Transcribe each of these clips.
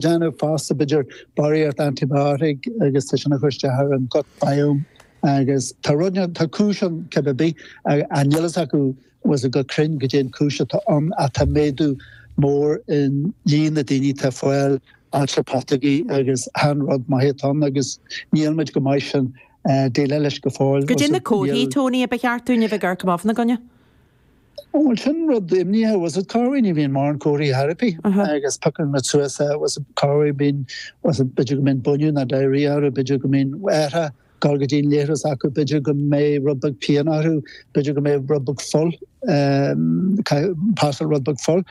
Déanamh fosta, b'fhéidir barraíocht antibiotic agus tá sin ag cur isteach ar an gut biome agus tá rud, tá cúis ann cibé ar bith, ach níl fhios acu bhfuil fhios go cruinn goidé an cúis atá ann ach tá méadú mór in líon na daoine atá ag fáil ailse putóige agus chan rud maith atá ann agus níl muid go maith sin déileáil leis go fóill. Goidé na comharthaí, Tony, a ba cheart dúinn a bheith ag amharc amach fána gcoinne? Bhuel, sin rud imníoch, bhfuil fhios agat, corruair ní bhíonn mórán comharthaí ar bith agus piocann muid suas é, bhfuil fhios agat, corruair bíonn, bhfuil fhios agat, b'fhéidir go mbíonn búineadh nó diarrhea orthu, b'fhéidir go mbíonn orthu dul go dtí an leithreas acu, b'fhéidir go mbeidh rud beag pian orthu, b'fhéidir go mbeidh rud beag fuil, pasáil rud beag fuil.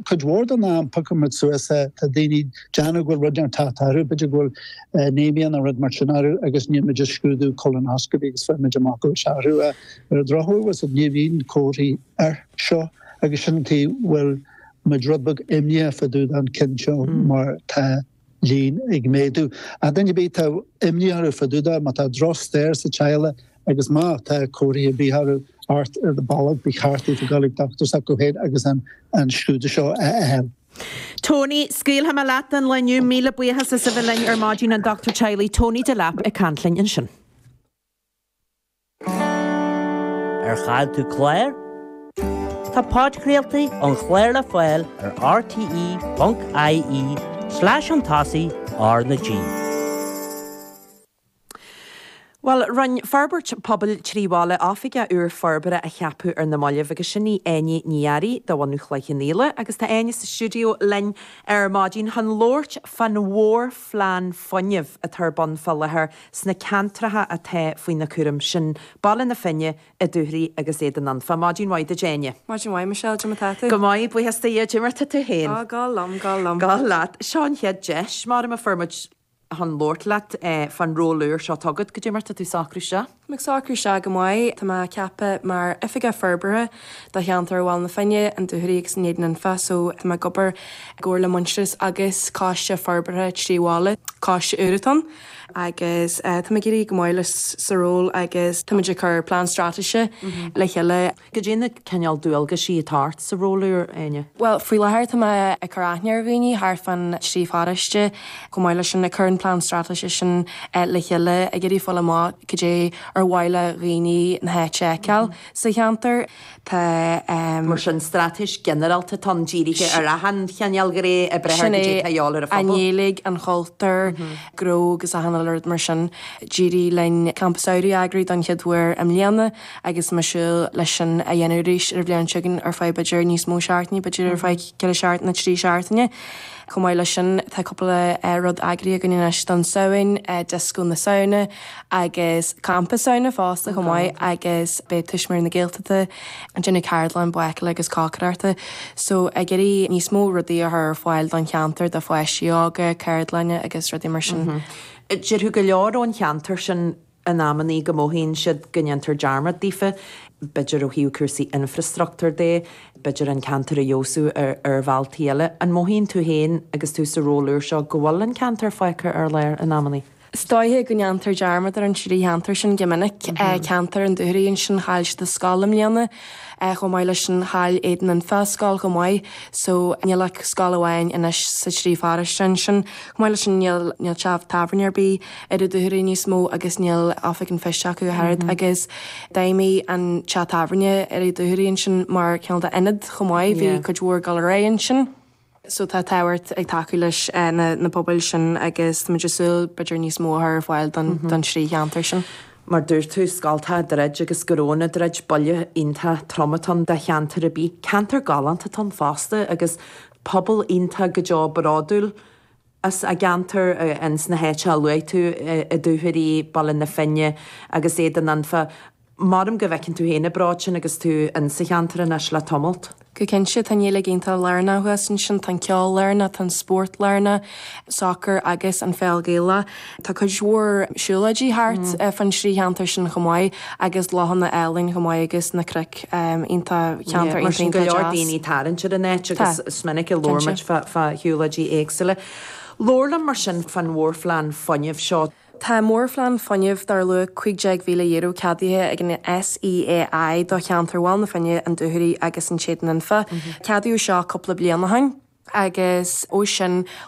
Cuid mhór den am piocann muid suas é, tá daoine ag déanamh go bhfuil rud inteacht ag teacht orthu, b'fhéidir go bhfuil anemia nó rud mar sin orthu agus déanann muid scrúdú colonoscopy agus faigheann muid amach go bhfuil sé orthu. Ar an drochuair, bhfuil fhios agat, ní bhíonn comharthaí air seo agus sin an tuige bhfuil muid rud beag imníoch fá dtaobh den ceann seo mar tá líon ag méadú. Ach duine ar bith atá imní orthu fá dtaobh de, má tá drochstair sa teaghlach agus má tá comharthaí ar bith orthu, ort ar do bolg, ba cheart daofa dul ag dochtúir s'acu féin agus an scrúdú seo a fháil. Tony, scaoilfidh mé leat don lá inniu. Míle buíochas as a bheith linn ar maidin, an Dochtúir Teaghlaigh Tony Delap ag caint linn ansin. Ar chaill tú clár? Tá podchraoltaí an chláir le fáil ar rte.ie slash chun tosaigh R na G. Bhuel, rinne Forbairt Pobail 3 Bhaile oifigeach úr forbartha a cheapadh ar na mallaibh agus sin í Áine Ní Fhearraigh de bhunadh Chloich Cheann Fhaola agus tá Áine sa stiúideo linn ar maidin chun labhairt fán mhórphlean fuinnimh atá ar bun fá láthair sna ceantracha atá faoina cúram, sin Baile na Finne, An Dúchoraidh agus Éadan Anfa. Maidin mhaith duit Áine. Maidin mhaith Michelle, cad é mar tá tú? Go maith, buíochas do Dhia, cad é mar tá tú féin? Á, go liom, go liom. Go leat. Seo an chéad deis, mar a fuair muid chun labhairt leat fán ról úr seo atá agat. Cad é mar tá tú ag socrú isteach? Tá mé ag socrú isteach go maith. Tá mé ceaptha mar Oifigeach Forbartha do cheantar Bhaile na Finne, an Dúchoraidh agus an Éadan Anfa so tá mé ag obair i gcomhar le Muintearas agus Coiste Forbartha 3 Bhaile, coiste úr atá ann, agus tá mé ag éirí go maith leis sa ról agus tá muid ag cur plean straitéise le chéile. Cad é na cineál dualgaisí atá ort sa ról úr, Áine? Bhuel, faoi láthair tá mé ag cur aithne ar dhaoine thart fán trí pharóiste, chomh maith leis sin ag cur an plean straitéise sin le chéile, ag iarraidh fáil amach cad é ar mhaith le dhaoine na háite a fheiceáil sa cheantar. Tá. Mar sin, straitéis ginearálta atá ann, dírithe ar achan chineál gné oibre Sin cad é é, atá a dhíobháil ar an phobal. An Ghaeilge, an chultúr, gnó agus achan uile rud mar sin. D'éirigh linn campa samhraidh a eagrú don chéad uair i mbliana. agus tá mé ag súil leis sin a dhéanamh arís ar an bhliain seo chugainn ar feadh b'fhéidir níos mó seachtainí, b'fhéidir ar feadh 4 seachtaine, 3 seachtaine. Chomh maith leis sin, tá cúpla rud eagraithe againn anois don Samhain, Dioscó na Samhna agus Campa Samhna fosta chomh maith agus beidh Tuismitheoirí na Gaeltachta ag déanamh ceardlann bácála agus cócaireachta. So ag iarraidh níos mó rudaí a chur ar fáil don cheantar, do pháistí óga, ceardlanna agus rudaí mar sin. Déarfadh go leor ón cheantar sin in amannaí go mothaíonn siad go ndéantar dearmad daofa, b'fhéidir ó thaobh cúrsaí infreastruchtúir de, b'fhéidir an ceantar a fheabhsú ar bhealtaí eile. An mothaíonn tú féin agus tú sa ról úr seo go bhfuil an ceantar fágtha ar lár in amannaí? Is dóiche go ndéantar dearmad ar an trí cheantar sin go minic. Ceantar an Dúchoraidh ansin, chaill siad a scoil i mbliana. Chomh maith leis sin, chaill Éadan Anfa a scoil chomh maith. So, níl ach scoil amháin anois sa trí pharóiste ansin. Chomh maith leis sin, níl teach tábhairne ar bith ar an Dúchoraidh níos mó agus níl oifig an phoist acu ach oiread agus d'fheidhmigh an teach tábhairne ar an Dúchoraidh ansin mar cineál d'ionad chomh maith, bhí cuid mhór ag dul ar aghaidh ansin. So tá tábhacht ag tacú leis na pobail sin agus táimid ag súil b'fhéidir níos mó a chur ar fáil don trí cheantar sin. Mar dúirt tú, scoltacha ag druid agus go raibh na druid, buille iontach trom atá ann do cheantar ar bith. Ceantar galánta atá ann fosta agus pobal iontach go deo bródúil as a gceantar ins na háiteacha a luaigh tú, an Dúchoraidh, Baile na Finne agus Éadan Anfa. Maram go bhfeiceann tú féin an bród sin agus tú in sa cheantar anois le tamalt. Go cinnte, tá an Ghaeilge iontach lárnach thuas ansin, tá an ceol lárnach, tá an spórt lárnach, sacar agus an pheil Ghaelach. Tá cuid mhór siúlóidí thart fán trí cheantar sin chomh maith agus lochanna álainn chomh maith agus na cnoic iontach, ceantar iontach, iontach deas. Go leor daoine ag tarraingt ar an áit agus is minic a labhair muid fá shiúlóidí éagsúla. Labhair liom mar sin fán mhórphlean fuinnimh seo. Tá mórphlean fuinnimh dar luach €15,000 ceadaithe ag an SEAI do cheantar Bhaile na Finne, an Dúchoraidh agus an tÉadan Anfa. Ceadaíodh seo cúpla bliain ó shin. Agus ó sin.